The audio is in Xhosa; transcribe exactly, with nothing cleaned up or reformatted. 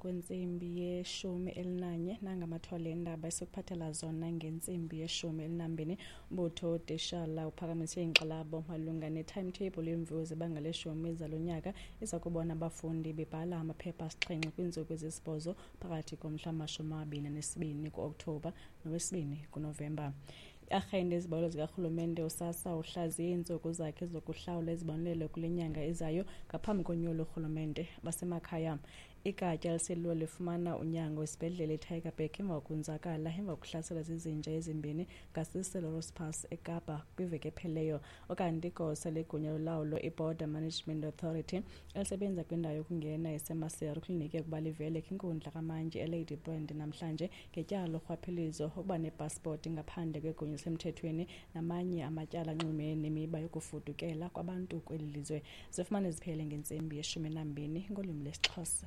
Kwentsimbi yeshumi elinanye nangamathole endaba esikuphathela zona ngentsimbi yeshumi elinambini. Umbutho wootitshala uphakamise inkxalabo malunga ne-timetable yeemviwo zebanga leshumi zalo nyaka iza kubona abafundi bebhala amaphepha asixhenxe kwiintsuku ezisibhozo phakathi komhla wamashumi amabini anesibini ku-Okthobha nowesibini kuNovemba. I-arhente yezibalo zikarhulumente uSASSA uhlaziye iintsuku zakhe zokuhlawula izibonelelo kule nyanga izayo ngaphambi konyulo lorhulumente basemakhaya. Igatya eliselula lifumana unyango esibhedlele eTygerberg emva kokonzakala emva kokuhlaselwa zizinja ezimbini ngaseSelorus Pass eKapa kwiveki ephelileyo. Ukanti igosa legunya lolawulo iBorder Management Authority elisebenza kwindawo yokungena eseMaseru kulindeleke ukuba livele kwinkundla kamantyi eLady Brand namhlanje ngetyala lorhwaphilizo, ukuba nepasipoti ngaphandle kwegunya elisemthethweni namanye amatyala anxulumene nemiba yokufudukela kwabantu kweli lizwe. Zifumane ziphele ngentsimbi yeshumi nambini ngolwimi lwesiXhosa.